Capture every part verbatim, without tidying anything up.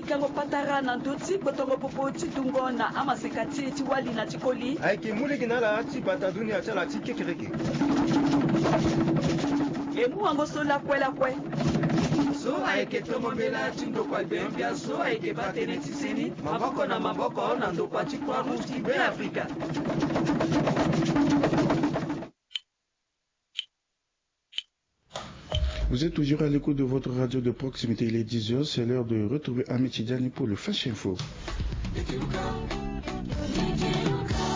Yango patara na ndö ti kpotongo popo ti dungo na amaseka ti e ti wali na ti koli. Ayeke mu lege na ala ti bata dunia ti ala ti kekereke. E mu wango so lakue lakue. So ayeke tongo mbela ti ndokua gbengbia so ayeke baa tënë ti seni maboko na maboko na ndokua ti Croix Rouge ti Beafrika. Vous êtes toujours à l'écoute de votre radio de proximité. Il est dix heures, c'est l'heure de retrouver Ahmed Tidjani pour le Flash Info.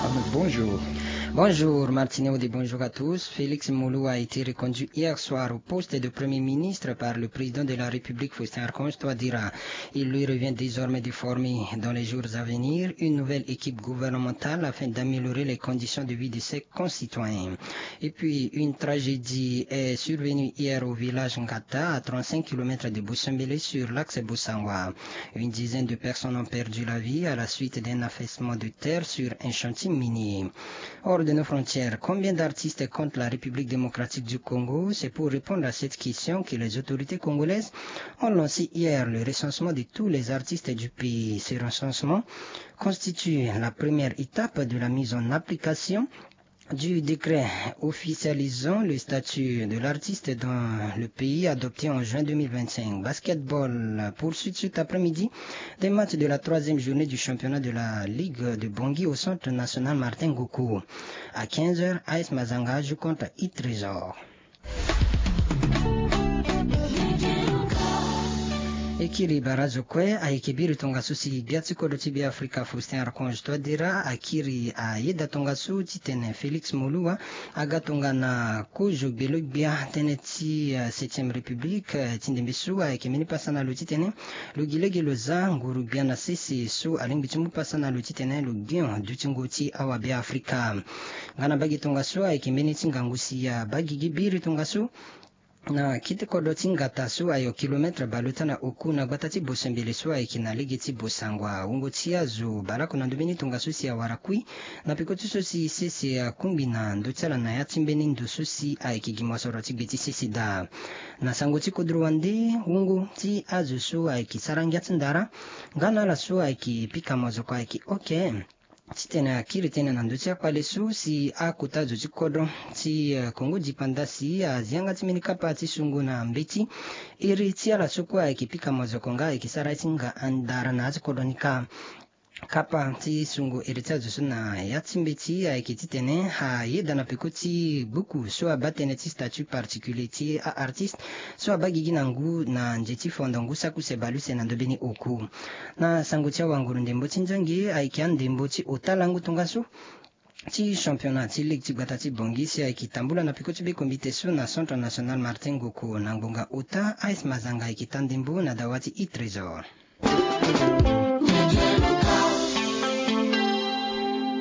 Ahmed, bonjour. Bonjour Martine Audé, bonjour à tous. Félix Moloua a été reconduit hier soir au poste de Premier ministre par le président de la République, Faustin Archange Touadéra. Il lui revient désormais de former, dans les jours à venir, une nouvelle équipe gouvernementale afin d'améliorer les conditions de vie de ses concitoyens. Et puis, une tragédie est survenue hier au village Ngata, à trente-cinq kilomètres de Bossombélé, sur l'axe Bossangoa. Une dizaine de personnes ont perdu la vie à la suite d'un affaissement de terre sur un chantier minier. Hors de nos frontières, combien d'artistes compte la République démocratique du Congo ? C'est pour répondre à cette question que les autorités congolaises ont lancé hier le recensement de tous les artistes du pays. Ce recensement constitue la première étape de la mise en application du décret officialisant le statut de l'artiste dans le pays, adopté en juin deux mille vingt-cinq. Basketball, poursuite cet après-midi des matchs de la troisième journée du championnat de la Ligue de Bangui au centre national Martin Ngoku. À quinze heures, A S Mazanga joue contre Itrésor. E kiri bara zo kue, ayeke biri tongaso si gbia ti kodro ti Beafrika Faustin Archange Touadéra akiri ayeda tongaso titene Félix Moloua aga tongana kozo gbelo-gbia tënë ti, eh, septième République, eh, ti ndembe so ayeke mbeni pasa na lo titene lo gi lege lo za nguru gbia na sese so alingbi ti mu pasa na lo titene lo gbio dutingo ti awabeafrika. Nga na mbage tongaso ayeke mbeni ti ngangu si abaa gigi biri tongaso na kete kodro ti Ngata so ayo kilometre bale ota na oku na gbata ti Bosembele so ayeke na lege ti Bossangoa. Wungo ti azo bale oko na ndo mbeni tongaso si awara kui na peko ti so si sese akungbi na ndö ti ala na ya ti mbeni ndo so si ayeke gi mosoro ti gbe ti sese daa. Na sango ti kodro wande, wungo ti azo so ayeke sara ngia ti ndara nga na ala so ayeke pika mozoko ayeke oke titene akiri tënë na ndö ti akpale so si akota zo ti kodro ti, eh, Kongo dipanda si azi yanga ti mbeni kapa ti sungo na mbeti iri ti ala so kue ayeke pika mozoko nga ayeke sara ye ti nga ndara na ya ti kodro ni kâ. Kapa ti sungo iri ti azo so na ya ti mbeti ayeke titene ayeda na peko ti buku so abaa tënë ti statut particulier ti a-artiste so abaa gigi na ngu na nze ti fondo ngu saki use bale use na ndo mbeni oku. Na sango ti awanguru ndembo ti nzangi ayeke andembo ti ota lango tongaso ti championnat ti ligue ti gbata ti Bangui si ayeke tambula na peko ti bekombite so na Centre National Martin Ngoku na ngbonga ota, A S Mazanga ayeke taa ndembo na dawa ti Itrésor.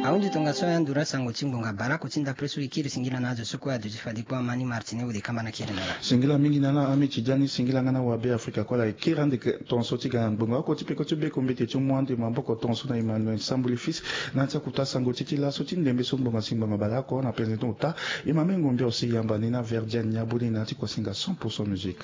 Ahunzi tongaso ya nduru asango ti ngbonga bale oko ti ndapre so e kiri singila na azo so kue aduti fade kpo amani Martine Audé kamba na kiri na ala. Singila mingi na ala Ahmed Tidjani, singila nga na awabeafrika kue ala e kiri ande tongaso ti ga na ngbonga oko ti peko ti bekombite ti mu ande maboko tongaso na Emmanuel Sambuli Fils na ya ti akuta sango ti ti laso ti ndembe so ngbonga si ngbonga bale oko na penze ti ota. E ma mengo mbia ose yamba ni na Verdiane Niaboli na ya ti kuasinga cent pour cent musique.